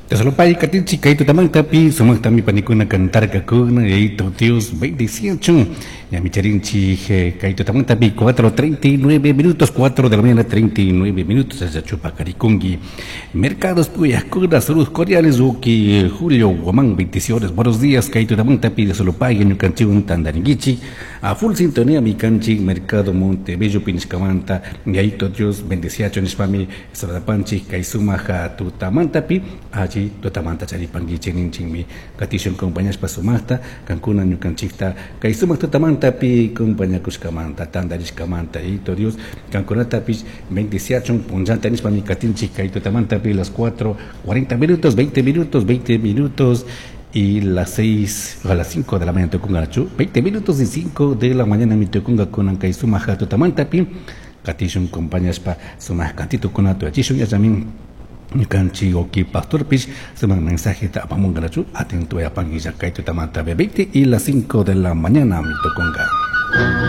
Tesalopay katinchik kay tutamantapi sumaqtami panikuna cantarkakuna Yayito Dios bendiciachun. Ñami charinchik kay tutamantapi 4:39 minutos, 4 de la mañana 39 minutos, chupakarikunki. Mercados Puyakuna, saludos cordiales, Uki Julio Guamán, bendiciones, buenos días, kay tutamantapi Tesalopay, ñukanchikwan tandarinkichik. A full sintonía mi kanchik Mercado Montebello pinishkamanta, Yayito Dios bendiciachun nishpami saladapanchik kay sumaja tutamantapi, alli tutamanta charipankichik ninchikmi katishun compañashpa sumaqta kankuna ñukanchikta kay sumaq tutamantapi compañakushkamanta tandarishkamanta Yayito Dios kankunatapish bendiciachun punllanta nishpami katinchik kay tutamantapi las 4:40 minutos, 20 minutos, 20 minutos y las 6 a las 5 de la mañana tukungachu, 20 minutos y 5 de la mañana mi tukunga kunan kay sumaja tutamantapi katishun compañashpa sumaq kantito kuna tuyachishun yachamin ñukanchik uki pastorpish sumaq mensajeta apamunkarachu atento yapanki kay tutamanta 20 y las 5 de la mañana mi tukunga.